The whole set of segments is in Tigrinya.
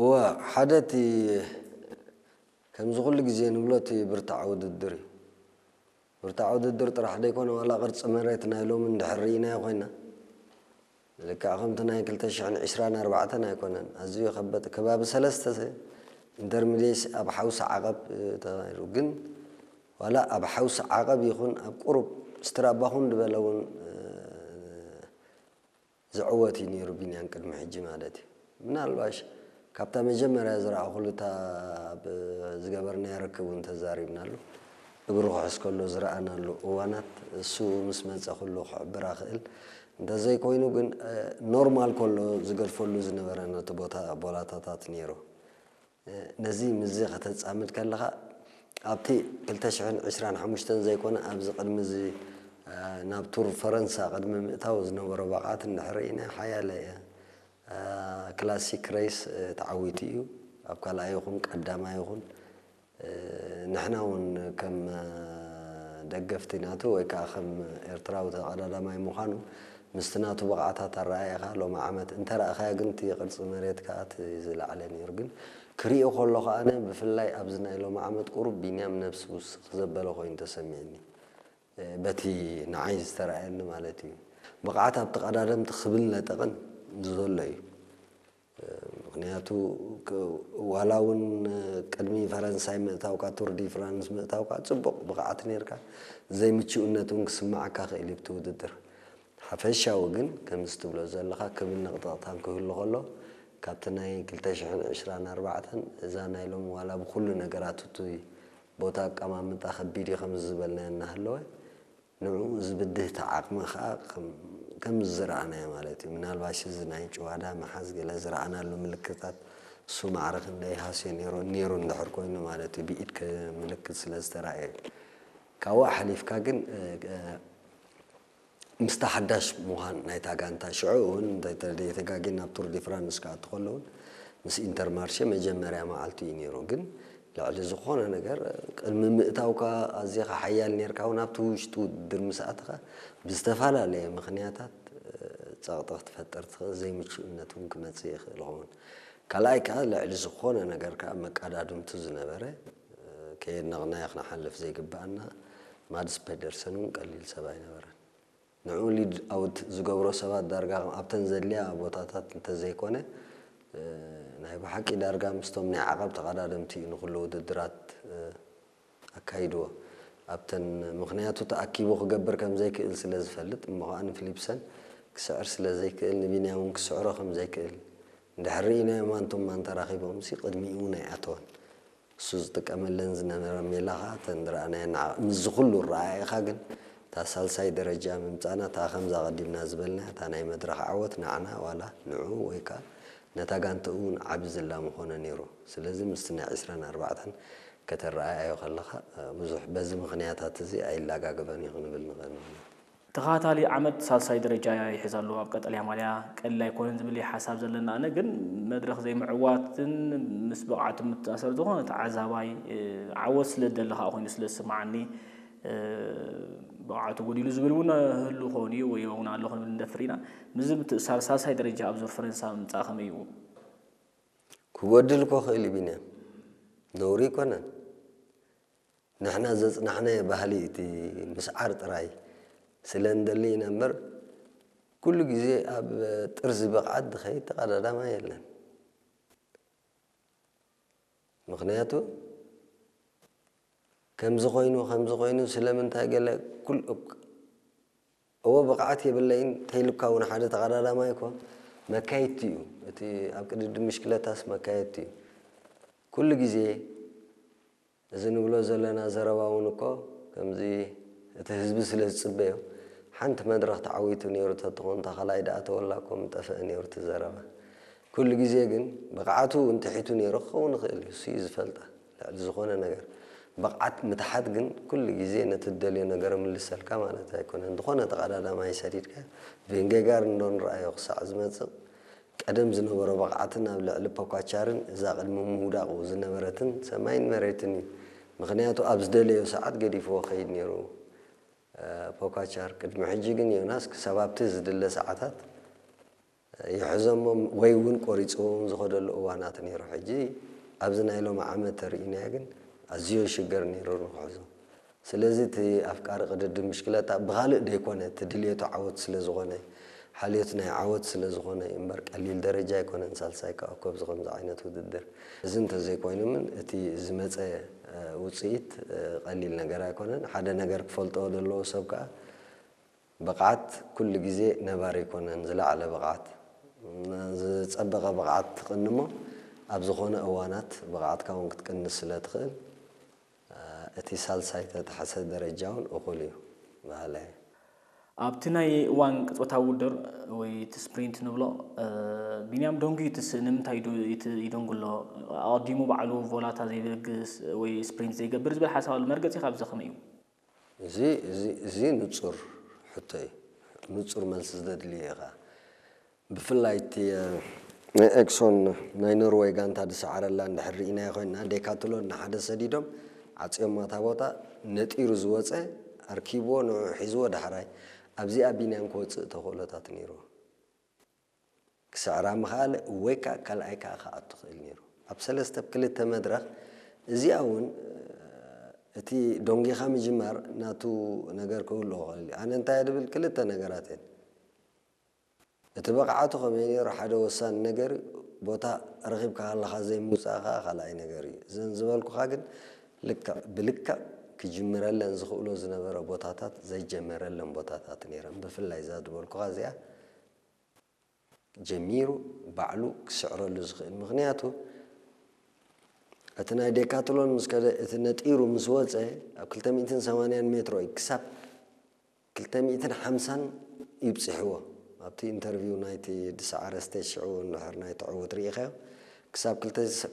እወ፣ ሓደ እቲ ከምዚ ኩሉ ግዜ ንብሎ እቲ ብርታዕ ውድድር እዩ። ብርታዕ ውድድር ጥራሕ ደይኮነ፣ ዋላ ቅርጺ መሬት ናይ ሎሚ እንድሕር ርኢናዮ ኮይና፣ ልክዕ ከምቲ ናይ ክልተ ሽሕን ዕስራን ኣርባዕተን ኣይኮነን። ኣዝዩ የኸበጥ። ከባቢ ሰለስተ ኢንተርሚዲየት ኣብ ሓውሲ ዓቐብ፣ እ፣ ተኻይዱ። ግን ዋላ ኣብ ሓውሲ ዓቐብ ይኹን ኣብ ቁሩብ ስትራባኹን ዝበለ እውን፣ እ፣ ዝዕወት እዩ ነይሩ ቢንያም ቅድሚ ሕጂ ማለት እዩ። ምናልባሽ ካብታ መጀመርያ ዝረኣኹሉ እታ ኣብ ዝገበርናዮ ርክብ እውን ተዛሪብናሉ። እግሩ ክሕዝ ከሎ ዝረኣናሉ እዋናት፣ እሱ ምስ መጸ ኩሉ ክሕብራ ክእል። እንተዘይኮይኑ ግን፣ እ፣ ኖርማል ከሎ ዝገድፈሉ ዝነበረ ነቲ ቦታ ቦላታታት ነይሩ። ነዚ ምስዚ ከተጻምድ ከለኻ፣ ኣብቲ ክልተ ሽሕን ዕስራን ሓሙሽተን ዘይኮነ፣ ኣብዚ ቅድሚ እዚ፣ እ፣ ናብ ቱር ፈረንሳ ቅድሚ ምእታው ዝነበሮ ብቕዓት እንድሕር ርኢና፣ ሓያለ፣ እ፣ ክላሲክ ሬስ፣ እ፣ ተዓዊቱ እዩ። ኣብ ካልኣይ ይኹን ቀዳማይ ይኹን፣ እ፣ ንሕና እውን ከም፣ እ፣ ደገፍቲ ናቱ ወይ ከዓ ከም ኤርትራዊ ተቐዳዳማይ ምዃኑ ምስቲ ናቱ ብቕዓታት ኣረኣእኻ ሎሚ ዓመት እንተረኣኻዮ ግን እቲ ቅርጺ መሬት ከኣ እቲ ዝለዓለ ነይሩ። ግን ክሪኦ ከለኹ ኣነ ብፍላይ ኣብዚ ናይ ሎሚ ዓመት ቁሩብ ቢንያም ነብሲ ውስኽ ዘበለ ኮይኑ ተሰሚዕኒ። እ፣ በቲ ንዓይ ዝተረኣየኒ ማለት እዩ። ብቕዓት ኣብቲ ቀዳደምቲ ክብል ነጠቕን ዘሎ እዩ። ምኽንያቱ ክ-፣ ዋላ እውን ቅድሚ ፈረንሳይ ምእታውካ፣ ቱር ዲ ፍራንስ ምእታውካ፣ ጽቡቕ ብቕዓት ነይርካ፣ ዘይምችኡነት እውን ክስምዓካ ክእል እዩ ብቲ ውድድር። ሓፈሻዊ ግን፣ ከምዚ ትብሎ ዘለኻ፣ ክብን ነቕጠቕታን ክህሉ ከሎ፣ ካብቲ ናይ ክልተ ሽሕን ዕስራን ኣርባዕተን፣ እዛ ናይ ሎሚ ዋላ ብኹሉ ነገራት እቱይ ቦታ ኣቀማምጣ ከቢድ እዩ፣ ከምዚ ዝበልናዮ እናሃለወ፣ ንዕኡ ዝብድህ እቲ ዓቕሚ ኸኣ ከም፣ ከም ዝረኣናዮ ማለት እዩ። ምናልባሽ እዚ ናይ ጭዋዳ ምሓዝ ገለ ዝረኣናሉ ምልክታት እሱ ማዕረ ክንደይ ሃስዮ ነይሩ፣ ነይሩ እንድሕር ኮይኑ ማለት እዩ፣ ብኢድ ክ-፣ ምልክት ስለ ዝተራእየ እዩ። ካብኡ ሓሊፍካ ግን፣ እ፣ እ፣ ምስቲ ሓዳሽ ምዃን ናይታ ጋንታ፣ ሽዑ እውን እንተ-፣ እንተ-፣ ዘይተጋግየ ናብ ቱር ዲ ፍራንስ ክኣቱ ከሎ እውን ምስ ኢንተርማርሼ መጀመርያ መዓልቱ እዩ ነይሩ። ግን ልዕሊ ዝኾነ ነገር፣ ቅድሚ ምእታውካ ኣዚኻ ሓያል ኔርካ እውን ኣብቲ ውሽጢ ውድድር ምስ ኣተኻ ብዝተፈላለየ ምኽንያታት፣ እ፣ ጸቕጢ ክትፈጥር ትኽእል፣ ዘይምቹእነት እውን ክመጽእ ይኽእል ይኸውን። ካልኣይ ከኣ ልዕሊ ዝኾነ ነገር ከኣ መቀዳድምቱ ዝነበረ፣ እ፣ ከየድነቕናዮ ክንሓልፍ ዘይግብኣና ማድስ ፔደርሰን እውን ቀሊል ሰብ ኣይነበረን። ንዕኡ ሊድ ኣውት ዝገብሮ ሰባት ዳርጋ ኣብተን ዘድልያ ቦታታት እንተዘይኮነ፣ እ፣ ናይ ብሓቂ ዳርጋ ምስቶም ናይ ዓቐብ ተቐዳደምቲ እዩ ንኹሉ ውድድራት፣ እ፣ ኣካይድዎ። ኣብተን፣ ምኽንያቱ ተኣኪቡ ክገብር ከም ዘይክእል ስለ ዝፈልጥ፣ እሞ ኸኣ ንፊሊፕሰን ክስዕር ስለ ዘይክእል፣ ንቢንያም እውን ክስዕሮ ከም ዘይክእል እንድሕር ርኢናዮ ማንቱም ማን ተራኺቦምሲ ቅድሚኡ እውን ኣይኣተወን። እሱ ዝጥቀመለን ዝነበረ ሜላ ኸኣ እተን ዝረኣናየን ንዓ-፣ ምስዚ ኩሉ ኣረኣእያኻ ግን እታ ሳልሳይ ደረጃ ምምጻእና፣ እታ ከምዛ ቀዲምና ዝበልናያ፣ እታ ናይ መድረኽ ዓወት ንዓና ዋላ ንዕኡ ወይ ከኣ ነታ ጋንትኡ እውን ዓቢ ዝላ ምኾነ ነይሩ። ስለዚ ምስቲ ናይ ዕስራን ኣርባዕተን ከተረኣእዮ ከለኻ፣ እ፣ ብዙሕ በዚ ምኽንያታት እዚ ኣይላጋገበን እዩ ክንብል ንኽእል ንሕና። ተኸታታሊ ዓመት ሳልሳይ ደረጃ ይሕዝ ኣሎ ኣብ ቀጠልያ ማልያ። ቀሊል ኣይኮነን ዝብል እዩ ሓሳብ ዘለና። ኣነ ግን መድረኽ ዘይምዕዋትን ምስ ብቕዓቱ ምትኣሰር ዝኾነ ተዓዛባይ፣ እ፣ ዓወት ስለ ዝደሊ ከኣ ኮይኑ ስለ ዝስምዓኒ፣ እ፣ ብቕዓቱ ጎዲሉ ዝብል እውን ህሉ ክኸውን እዩ ወይ እውን ኣሎ ክንብል ንደፍር ኢና። ምስዚ ምትእስሳር ሳልሳይ ደረጃ ኣብ ዙር ፈረንሳ ምምጻእ ከመይ እዩ? ክጎድል እኮ ክእል እዩ ቢንያም። ነውሪ ኣይኮነን። ንሕና ዘጽናሕናዮ ባህሊ እቲ ምስዓር ጥራይ ስለ እንደሊ ኢና እምበር፣ ኩሉ ግዜ ኣብ ጥርዚ ብቕዓት ዝኸይድ ተቐዳዳማይ የለን። ምኽንያቱ ከምዚ ኮይኑ፣ ከምዚ ኮይኑ፣ ስለምንታይ ገለ ኩል-፣ እወ፣ ብቕዓት የብለይን ተይልካ እውን ሓደ ተቐዳዳማይ እኮ መካየድቲ እዩ። እቲ ኣብ ቅድድም ምሽክለታስ መካየድቲ እዩ። ኩሉ ግዜ እዚ ንብሎ ዘለና ዘረባ እውን እኮ ከምዚ እቲ ህዝቢ ስለ ዝጽበዮ፣ ሓንቲ መድረኽ ተዓዊቱ ነይሩ ተትኾን፣ እታ ካልኣይ ደኣ ተወላ እኮ ምጠፍአ ነይሩ እቲ ዘረባ። ኩሉ ግዜ ግን ብቕዓቱ እውን ትሒቱ ነይሩ ክኸውን ይኽእል እዩ፣ እሱ እዩ ዝፈልጣ። ልዕሊ ዝኾነ ነገር ብቕዓት ምትሓት ግን ኩሉ ግዜ ነቲ ትደልዮ ነገር ምልሰልካ ማለት ኣይኮነን። ዝኾነ ተቐዳዳማይ ሰዲድካ ቬንጌጋር እንዶ ንረኣዮ ክሳዕ ዝመጽእ ቀደም ዝነበሮ ብቕዓትን ኣብ ልዕሊ ፖካቻርን እዛ ቅድሚ ምውዳቑ ዝነበረትን ሰማይን መሬትን እዩ። ምኽንያቱ ኣብ ዝደለዮ ሰዓት ገዲፍዎ ከይድ ነይሩ፣ እ፣ ፖካቻር። ቅድሚ ሕጂ ግን ዮናስ ክሳብ ኣብቲ ዝድለ ሰዓታት፣ እ፣ ይሕዞሞም ወይ እውን ቆሪፅዎም ዝኸደሉ እዋናት ነይሩ። ሕጂ ኣብዚ ናይ ሎሚ ዓመት ተርእናዮ ግን ኣዝዮ ሽገር ነይሩ ንክሕዞ። ስለዚ እቲ ኣፍቃሪ ቅድድም ብሽክለታ ብኻልእ ደይኮነ፣ እቲ ድልየቱ ዓወት ስለ ዝኾነ፣ ሓልዮት ናይ ዓወት ስለ ዝኾነ እምበር ቀሊል ደረጃ ኣይኮነን ሳልሳይ ክኣኮ ኣብዚ ከምዚ ዓይነት ውድድር። እዚ እንተዘይኮይኑ እውን እቲ ዝመፀ ውፅኢት ቀሊል ነገር ኣይኮነን። ሓደ ነገር ክፈልጦ ዘለዎ ሰብ ከዓ ብቕዓት ኩሉ ግዜ ነባሪ ኣይኮነን። ዝለዓለ ብቕዓት፣ ዝጸበቐ ብቕዓት ትቕንሞ ኣብ ዝኾነ እዋናት ብቕዓትካ እውን ክትቅንስ ስለ ትኽእል፣ እቲ ሳልሳይ ተተሓሰ ደረጃ እውን እኹል እዩ በሃላይ። ኣብቲ ናይ እዋን ቅጽበታዊ ውድድር ወይ እቲ ስፕሪንት ንብሎ፣ ቢንያም ደንጉዩ ይትስእ። ንምንታይ ይደንጉ ኣሎ? ኣቐዲሙ ባዕሉ ቮላታ ዘይበግስ ወይ ስፕሪንት ዘይገብር ዝብል ሓሳብ ኣሎ። መርገጺ ካብዚ ከመይ እዩ? እዚ እዚ እዚ ንጹር ሕቶ እዩ። ንጹር መልሲ ዘድልዮ እዩ ኸኣ። ብፍላይ እቲ ናይ ኤክሶን ናይ ኖርወይ ጋንታ ዝሰዓረላ እንድሕር ርኢናዮ ኮይንና፣ ዴካትሎን ንሓደ ሰዲዶም ዓጽዮማ እታ ቦታ። ነጢሩ ዝወጸ ኣርኪብዎ ንዑ ሒዝዎ ዳሕራይ ኣብዚኣ ቢንያም ክወጽእ ተኽእሎታት ነይርዎ። ክስዕራ ምኽኣለ ወይ ከዓ ካልኣይ ከዓ ክኣቱ ክእል ነይሩ። ኣብ ሰለስተ ብ ክልተ መድረኽ እዚኣ እውን እቲ ዶንጊኻ ምጅማር ናቱ ነገር ክህልዎ ክእል እዩ። ኣነ እንታይ እየ ድብል ክልተ ነገራት እየን። እቲ ብቕዓቱ ከመይ ነይሩ ሓደ ወሳኒ ነገር እዩ። ቦታ ረኺብካ ከለኻ ዘይምውፃእ ከዓ ካልኣይ ነገር እዩ። እዘን ዝበልኩኻ ግን ልክዕ ብልክዕ ክጅምረለን ዝኽእሎ ዝነበረ ቦታታት ዘይጀመረለን ቦታታት ነይረን። ብፍላይ እዛ ዝበልኩኻ እዚኣ ጀሚሩ ባዕሉ ክስዕረሉ ዝኽእል። ምኽንያቱ እቲ ናይ ዴካትሎን ምስ ከደ እቲ ነጢሩ ምስ ወፀ ኣብ ክልተ ሚእትን ሰማንያን ሜትሮ እዩ ክሳብ ክልተ ሚእትን ሓምሳን ይብፅሕዎ። ኣብቲ ኢንተርቪው ናይቲ ዝሰዓረ ስቴጅ ሽዑ እንድሕር ናይ ተዕውት ርኢኻዮ ክሳብ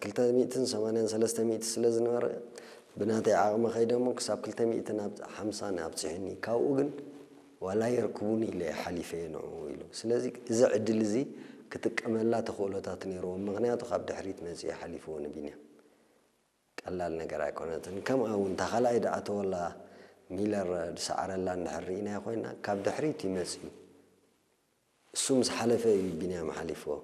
ክልተ ሚእትን ሰማንያን ሰለስተ ሚእቲ ስለ ዝነበረ ብናተይ ዓቕሚ ከይደ እሞ ክሳብ ክልተ ሚእትን ሓምሳን ኣብፅሑኒ። ካብኡ ግን ዋላ የርክቡኒ ኢለ እየ ሓሊፈ እየ ንዕኡ ኢሉ። ስለዚ እዚ ዕድል እዚ ክጥቀመላ ተኽእሎታት ነይርዎ። ምኽንያቱ ካብ ድሕሪት መፂኡ ሓሊፍዎ ንቢንያም። ቀላል ነገር ኣይኮነትን። ከምኣ እውን እታ ካልኣይ ድኣተወላ ሚለር ዝሰዓረላ እንድሕር ርኢናዮ ኮይና ካብ ድሕሪት እዩ መፂኡ። እሱ ምስ ሓለፈ እዩ ቢንያም ሓሊፍዎ።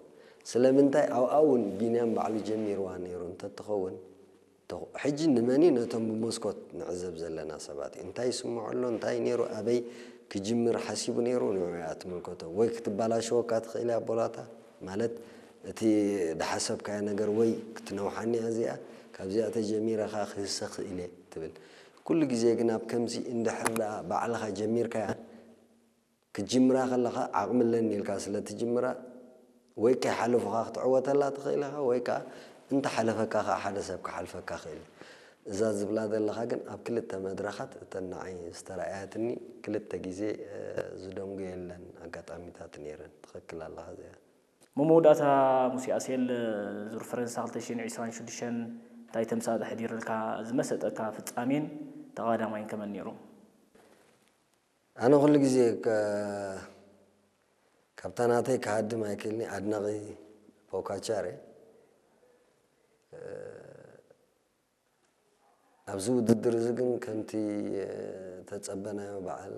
ስለምንታይ ኣብኣ እውን ቢንያም ባዕሉ ጀሚርዋ ነይሩ እንተትኸውን፣ ተኹ-፣ ሕጂ ንመን እዩ ነቶም ብመስኮት ንዕዘብ ዘለና ሰባት እዩ? እንታይ ይስምዖ ኣሎ? እንታይ ነይሩ? ኣበይ ክጅምር ሓሲቡ ነይሩ? ንዑ እያ ትምልከቶ። ወይ ክትበላሸወካ ትኽእል እያ ቦላታ፣ ማለት እቲ ድሓሰብካዮ ነገር ወይ ክትነውሓኒ እያ እዚኣ፣ ካብዚኣ ተጀሚረ ኸኣ ክህሰ ክእል እየ ትብል። ኩሉ ግዜ ግን ኣብ ከምዚ እንድሕር ደኣ ባዕልኻ ጀሚርካያ ክትጅምራ ከለኻ ዓቕሚ ኣለኒ ኢልካ ስለ ትጅምራ፣ ወይ ከይሓለፉኻ ክትዕወተላ ትኽእል ኢኻ፣ ወይ ከኣ እንተሓለፈካ ከኣ ሓደ ሰብ ክሓልፈካ ክእል እዩ። እዛ ዝብላ ዘለኻ ግን ኣብ ክልተ መድረኻት እተን ንዓይ ዝተረኣያትኒ ክልተ ግዜ፣ እ፣ ዝደንጉየለን ኣጋጣሚታት ነይረን። ትኽክል ኣለኻ እዚኣ። መመወዳእታ ሙሴ ኣሴል ዙር ፈረንሳ ክልተ ሽሕን ዕስራን ሽዱሽተን እንታይ ተምሳጥ ኣሕዲርልካ? ዝመሰጠካ ፍጻሜን ተቐዳማይን ከመን ነይሩ? ኣነ ኩሉ ግዜ ከ-፣ ካብታ ናተይ ክሃድም ኣይክእልኒ፣ ኣድናቒ ፖካቻር እየ። እ፣ ኣብዚ ውድድር እዚ ግን ከምቲ፣ እ፣ ተጸበናዮ በዓል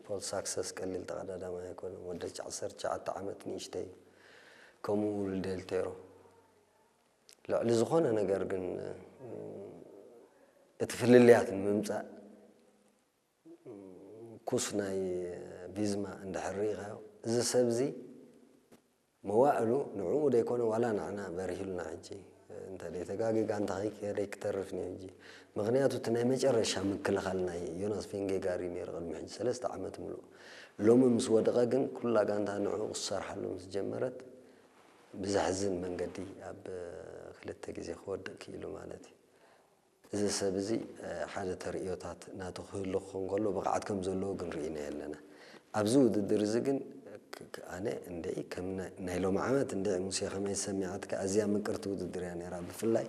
ፖል ሳክሰስ ቀሊል ተቐዳዳማይ ኣይኮነን። ወዲ ዓሰርተ ትሽዓተ ዓመት ንእሽተይ እዩ። ከምኡ ውሉድ ዴል ቴሮ። ልዕሊ ዝኾነ ነገር ግን፣ እ፣ እቲ ፍልልያት ንምምጻእ ኩስ ናይ ቪዝማ እንድሕር ርኢኻዮ፣ እዚ ሰብ እዚ መዋእሉ ንዕኡ ደይኮነ ዋላ ንዓና በሪሁልና። ሕጂ እንተ ደይተጋጊ ጋንታ ከይከደ ክተርፍ እዩ ሕጂ። ምኽንያቱ እቲ ናይ መጨረሻ ምክልኻል ናይ ዮናስ ቬንጌጋሪ ነይሩ ቅድሚ ሕጂ ሰለስተ ዓመት ምሉእ። ሎሚ ምስ ወደቐ ግን ኩላ ጋንታ ንዕኡ ክሰርሓሉ ምስ ጀመረት ብዘሕዝን መንገዲ ኣብ ክልተ ግዜ ክወድቕ ክኢሉ ማለት እዩ። እዚ ሰብ እዚ፣ እ፣ ሓደ ተርእዮታት ናቱ ክህሉ ክኸውን ከሎ ብቕዓት ከም ዘለዎ ግን ርኢናዮ ኣለና። ኣብዚ ውድድር እዚ ግን ክ-፣ ክ-፣ ኣነ እንደይ ከም ናይ፣ ናይ ሎሚ ዓመት እንደ ሙሴ ከመይ ሰሚዓትካ ኣዝያ ምቅርቲ ውድድር እያ ነይራ። ብፍላይ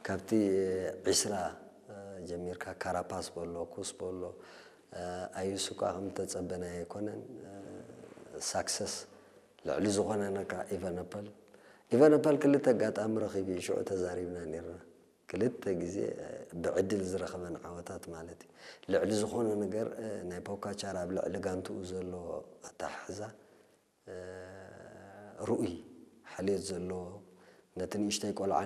ካብቲ፣ እ፣ ዒስራ፣ እ፣ ጀሚርካ ካራፓስ በሎ፣ ኩስ በሎ፣ እ፣ ኣዩሱ ከኣ ከም ተጸበናዮ ኣይኮነን። እ፣ ሳክሰስ ልዕሊ ዝኾነ ነካ ኢቨነፐል። ኢቨነፐል ክልተ ኣጋጣሚ ረኺቡ እዩ፣ ሽዑ ተዛሪብና ነይርና። ክልተ ግዜ፣ እ፣ ብዕድል ዝረኸበን ዓወታት ማለት እዩ። ልዕሊ ዝኾነ ነገር፣ እ፣ ናይ ፖካቻር ኣብ ልዕሊ ጋንትኡ ዘለዎ ኣተሓሕዛ፣ እ፣ ርኡይ ሓልዮት ዘለዎ፣ ነቲ ንእሽተይ ቆልዓ